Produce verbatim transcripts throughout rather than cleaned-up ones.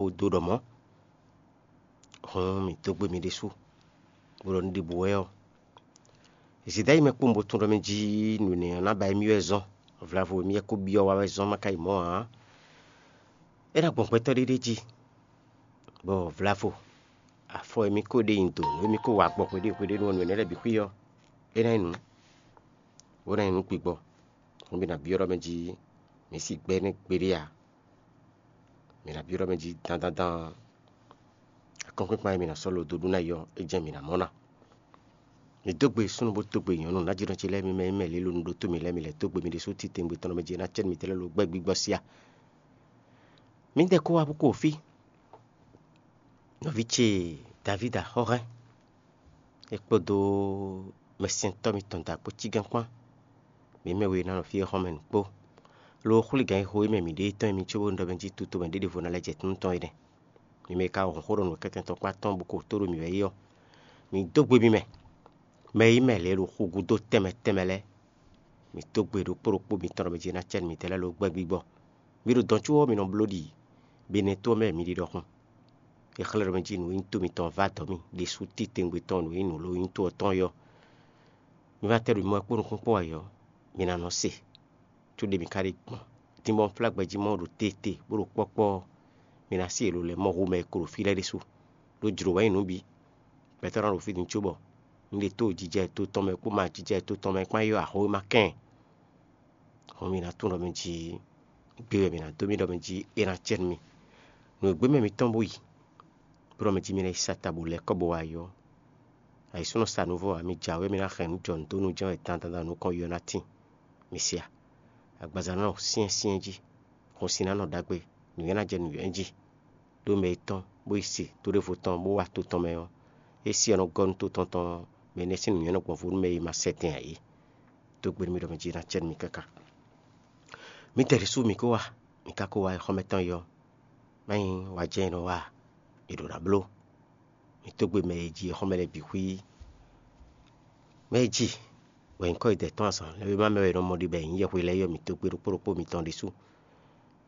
dó ɖɔ mɔ̌. Hǔn mǐ dó gbe mi ɖésú, bó ɖɔ nǔ ɖěbǔ wɛ ɔ́, zǐdá yi mɛ kpowun bó tunwun ɖɔ mɛ jí nǔ énɛ́ ɔ́ ná ba émí wɛ zɔ́n. Vlavo émí wɛ ko byɔ́ wa wɛ zɔ́n ma ka yi mɔ̌ ǎ. É ná gbɔn gbɛtɔ́ ɖé ɖé jí, bɔ vlavo afɔ émí ko ɖe nyi do nǔ émí ko wa gbɔ hweɖé hweɖé nú nǔ énɛ́ lɛ́ɛ bǐ xwí ɔ́, é ná nyí nǔ, bó ná nyí nǔ gbigbɔ. Hǔn mi ná byɔ́ ɖɔ mɛ jí mǐ si gbɛ́ nɛ́ gbeɖé ǎ. Mi ná byɔ́ ɖɔ mɛ jí dandandan akɔ́nkpinkpan e mi ná sɔ́ lo dó ɖu ná yi ɔ́, é jɛ́n mi ná mɔ ná. Mi dó gbe súnnu bó dó gbe nyɔ̌nu, nǎjínɔ ce lɛ́ɛ mi mɛ e mɛ lě lo nu ɖótó mi lɛ́ɛ, mi lɛ́ dó gbe mi ɖésú titewungbe tɔn nɔ mɛ jí é ná cɛ nú mitɛ́ lɛ́ɛ lo gbɛ́ gbígbɔ sí a. Mǐdɛɛ kó wá bó kó fí. Nɔví ce Davídi axɔ́hɛn, é kpódó mɛsɛntɔ́ mitɔn da kpó cígán kpán, mǐ mɛ we ná nɔ fí e xɔ́n mɛ nǔ kpó. Lo xwlí gǎn e xo e mɛ mǐ ɖe tɔn e mi có bó ɖɔ mɛ jí tutomɛ ɖěɖěvo ná lɛ́ jɛ nú tɔn é nɛ́. Mi mɛ e ka wɔn xó ɖɔ nǔ kɛntɛn tɔn kpán tɔn bó ko tó ɖo mǐ wɛ é ɔ́, mi dó gbe mi mɛ. Mɛ e nyí mɛ lě ɖo xu gúdo tɛnmɛ tɛnmɛ lɛ́ɛ, mi dó gbe ɖokpó ɖokpó mitɔn ɖɔ mɛ jí ná cɛ nú mitɛ́ lɛ́ɛ lo gbɛ́ gbígbɔ. Mi ɖo dɔn có ɔ́, mi nɔ bló ɖi Benɛ́ to ɔ́ mɛ mi ɖi ɖɔhun. È xlɛ́ ɖɔ mɛ jí nǔ e nyí to mitɔn vá dɔ̌ mì ɖésú titewungbe tɔn nǔ e nyí nǔ ló nyí to ɔ́ tɔn é ɔ́. Mi va tɛ ɖo mi mɔ wɛ kpó nukún kpó ayǐ ɔ́, mi ná nɔ se, có ɖě mi ka ɖe gbɔn. Din bɔ un flá gbɛjí mɔ ɖo teete bó ɖo kpɔ́kpɔ́ ɔ́, mi ná se lo lɛ́ɛ mɔ hu mɛ e ko ɖo fí lɛ́ɛ ɖésú. Ɖó jlǒ wɛ nyí nǔ bǐ. Gbɛtɔ́ ná ɖo fí din cóbɔ un ɖe tó jijɛ to tɔn mɛ kpó ma jijɛ to tɔn mɛ kpán yi axɔ́ e ma kɛn. Hɔn mi ná tunwun ɖɔ mɛ jí gbé wɛ mi ná dó mì ɖɔ mɛ jí é ná cɛ nú mi. Nǔ e gbé mɛ mitɔn bó yi, bó ɖɔ mɛ jí mi ná yi sa ta bó lɛ́ kɔ bó wá yi ɔ́, ayǐsúnɔ sa nǔ vɔ ǎ, mi jǎwe mi ná hɛn nǔ jɔ nǔ dó nú jɛ́n wɛ dandan nukɔn yi ɔ́ ná tín. Mi se a? Agbaza ná nɔ syɛ́nsyɛ́n jí, xɔsin ná nɔ ɖagbe, nǔnywɛ́ ná jɛ nǔnywɛ́ jí. Ɖó mɛ e tɔ́n bó yi se to ɖěvo tɔn bó wá to tɔn mɛ ɔ́, é syɛ́ nɔ gɔ́ nú to tɔn tɔn mɛ énɛ́ sín nǔnywɛ́ nɔ gbɔn vo nú mɛ e ma sɛ tɛn ǎ é. Dó gbe nú mì ɖɔ mɛ jí ná cɛ nú mì káká. Mǐdɛɛ ɖésú mǐ ko wá, mǐ ka ko wá exɔ́mɛ tɔn yi ɔ́, má nyí wǎ jɛ́n è nɔ wa è ɖǒ ná bló. Mǐ dó gbe mɛ e ji exɔ́mɛ lɛ́ɛ bǐ xwí. Mɛ e ji wɛ nyǐkɔ e dɛ̌ tɔn azǎn lɛ́ɛ wéma mɛ wɛ è nɔ mɔ ɖi bɔ è nyǐ yɛhwe lɛ́ɛ yi ɔ́, mǐ dó gbe ɖokpó ɖokpó mitɔn ɖésú.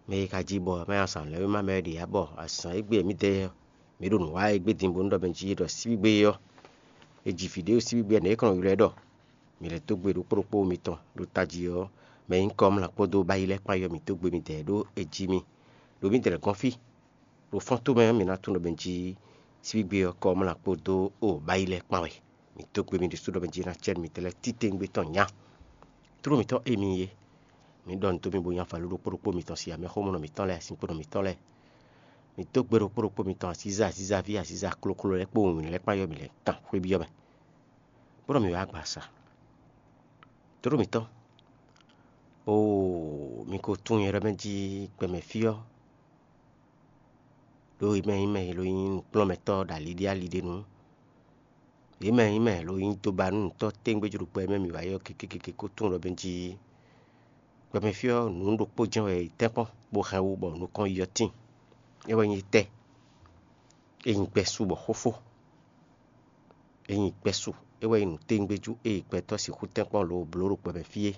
Mɛ e ka ji bɔ mɛ azǎn lɛ́ɛ wéma mɛ wɛ ɖě ya bɔ azǎn égbé e mǐdɛɛ ɔ́, mǐ ɖo nǔ wa égbé din bónú ɖɔ mɛ jí ɖɔ síbígbé ɔ́, è ji vǐ ɖé ɖo síbígbé ɔ́, nɛ̌ é kɔn nɔ ylɔ́ ɛ ɖɔ? Mǐ lɛ́ dó gbe ɖokpó ɖokpó mitɔn ɖo tají ɔ́ mɛ nyí Kɔmla kpódó Bayi lɛ́ɛ kpán yi ɔ́, mǐ dó gbe midɛɛ ɖó è ji mì ɖo mǐdɛɛ lɛ́ɛ gɔ́n fí. Ɖo fɔ́n tomɛ ɔ́, mǐ ná tunwun ɖɔ mɛ jí síbígbe ɔ́ Kɔmla kpódó Bayi lɛ́ɛ kpán wɛ. Mǐ dó gbe mì ɖésú ɖɔ mɛ jí ná cɛ nú mǐdɛɛ lɛ́ɛ titewungbe tɔn nya. Tlóló mǐtɔn e mi é, mǐ ɖɔ nǔ dó mi bó nyi avalú ɖokpó ɖokpó mitɔn sin amɛxómɔnɔ mǐtɔn lɛ́ɛ, asinkponɔ mǐtɔn lɛ́ɛ. Mǐ dó gbe ɖokpó ɖokpó mitɔn asíza asízaví asíza kloklo lɛ́ɛ kpó wǐnwlí lɛ́ɛ kpán yɔ́ mǐ lɛ́ɛ kan xwé byɔ́ mɛ. Bó nɔ mǐ wá gba sa. Tlóló mǐtɔn, oo, mi ko tunwun nyɛ ɖɔ mɛ jí gbɛmɛ fí ɔ́, ɖó è mɛ nyí mɛ e lo nyí nǔkplɔ́nmɛtɔ́ ɖo aliɖíali ɖé nu. Yě mɛ e nyí mɛ e lo nyí dobanúnǔtɔ́ téngbéjlógbɛ e mɛ mǐ wá yi ɔ́ kekekeke ko tunwun ɖɔ mɛ jí gbɛmɛ fí ɔ́, nǔ ɖokpó jɛ́n wɛ è tɛ́nkpɔ́n bó hɛn wú bɔ nukɔn yi ɔ́ tíin. É wɛ nyí tɛ́. É nyí gbɛ́ su bɔ xófó. É nyí gbɛ́ su. É wɛ nyí nǔtɛ́ngbéjú e gbɛtɔ́ sixú tɛ́nkpɔ́n lo blǒ ɖo gbɛmɛ fí é.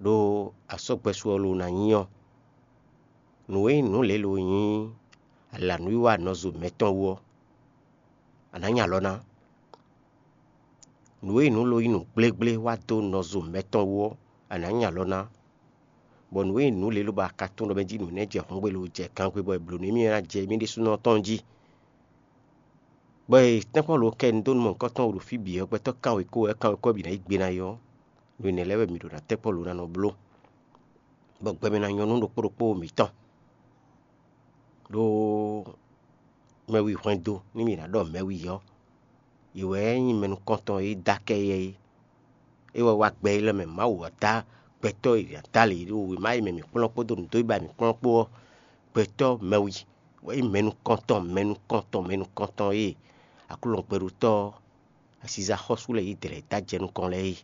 Ɖó asɔ́gbɛ́ su ɔ́ lo ná nyí ɔ́, nǔ e nyí nǔ lě lo nyí alǎnúwiwa nɔzo mɛtɔn wú ɔ́, a nǎ nya alɔ ná. Nǔ e nyí nǔ lo nyí nǔ gblégblé wá dó nɔzo mɛtɔn wú ɔ́, a nǎ nya alɔ ná. Bɔ nǔ e nyí nǔ lě lo bɔ a ka tunwun ɖɔ mɛ jí nǔ énɛ́ jɛ hɔ́ngbe lo jɛ gangbe bɔ è blǒ nú émí ná jɛ émí ɖésúnɔ tɔn jí. Bɔ e tɛ́nkpɔ́n lo kɛ nu dó nú mɔ̌hunkɔtɔn ɖo fí bǐ ɔ́, gbɛtɔ́ kanwekó wɛ kanwekó ɔ́ bǐ ná yí gbe ná yi ɔ́, nǔ énɛ́ lɛ́ɛ wɛ mǐ ɖo ná tɛ́nkpɔ́n lo ná nɔ bló, bɔ gbɛmɛ ná nyɔ́ nú ɖokpó ɖokpó mǐtɔn. Ɖó mɛwi hwɛndo nú mǐ ná ɖɔ mɛwi ɔ́, yě wɛ nyí mɛ nukɔntɔn e dó akɛ éyɛ́ é. É wɛ wá gbɛ élɔ́ mɛ Mawu wá dó gbɛtɔ́ e è dó alě ɖo wěma e mɛ mǐ kplɔ́n kpódó nǔdó e ba mǐ kplɔ́n kpó ɔ́, gbɛtɔ́ mɛwi wɛ nyí mɛ nukɔntɔn mɛ nukɔntɔn mɛ nukɔntɔn e Aklúnɔ gbɛɖótɔ́ asiza xɔ́sú lɛ́ɛ yí dlɛ̌ dó ajɛ nukɔn lɛ́ɛ é.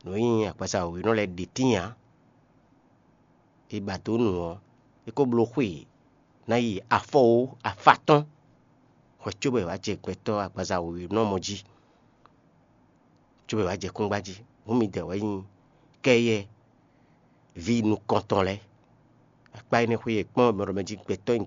Nǔ e nyí agbaza wěwé nɔ lɛ́ɛ ɖe tíin ǎ. È ba dó nu ɔ́, é ko bló xwe ná yi afɔwó afátɔ́n hwɛ cóbɔ è wǎ jɛ gbɛtɔ́ agbaza wěwé nɔ mɔ jí, cóbɔ è wǎ jɛ kúngba jí. Hǔn midɛɛ wɛ nyí kɛ́yɛ ví nukɔntɔn lɛ́ɛ. Akpá énɛ́ xwé e kpɔ́n mɛ ɖɔ mɛ jí gbɛtɔ́ nyi